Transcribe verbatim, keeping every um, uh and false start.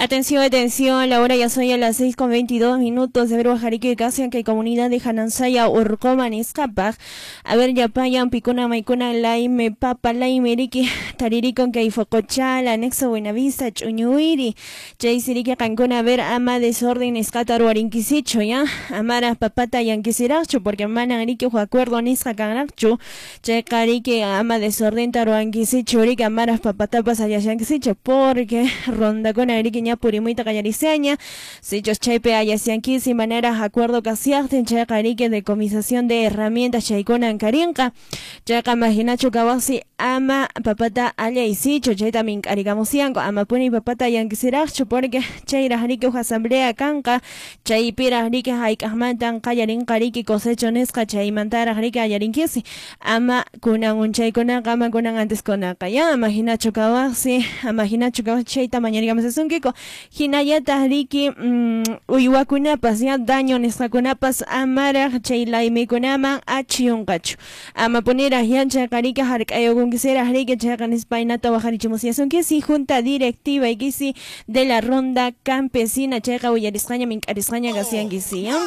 Atención, atención, la hora ya soy a las seis con veintidós minutos de ver Jarique Casian que comunidad de Hanansaya Urcoman Escapaj. A ver, Yapayan, Picuna, Maicuna, Laime, Papa, Laime, Riki, Tariricon, Caifocochala, Anexo Buenavista, Chuñuiri, Chaysiriki, Cancuna, a ver, ama desorden, Escatar, Warinquisicho, ya, Amara, Papata, Yanquisiracho, porque mana, Riki, acuerdo, Nisca, Canracho, Checariki, ama desorden, Taruanquisicho, Riki, Amara, Papatapas, Ayayanquisicho, porque ronda con Riki, ña purimuita callariseña, sichos chaype ayasianquisi, manera acuerdo casiarten, chaycariki, decomisación de herramientas, chaykuna ankarinqa, chayqa maginachu kawasi, ama papata allaysichu, chayta mink'arigamusianku, ama puni papata yanquisiraqchu, porque chayraq riki huk asamblea kanqa, chaypiraq riki hayk'aqmantan qallarinqa riki cosecho nisqa, chaymantaraq riki allarinkisi, ama kunan unchaykunaqa, ama kunan anteskunaqa, ya, ama hinachu kawasi, ama hinachu kawasi, chayta mañarigamusasunkiku, hinallataq riki mm, uywakunapas, ya, daño nisqakunapas, amaraq chay laymikunaman achiyunqachu, ama puniraq ya, chayqa riki hark'ayukunkisiraq riki, chayqa nispaynata waqarichimusiasunkisi, junta directiva ikisi de la ronda campesina, chayqa willarisqaña mink'arisqaña kasiankisi, ya.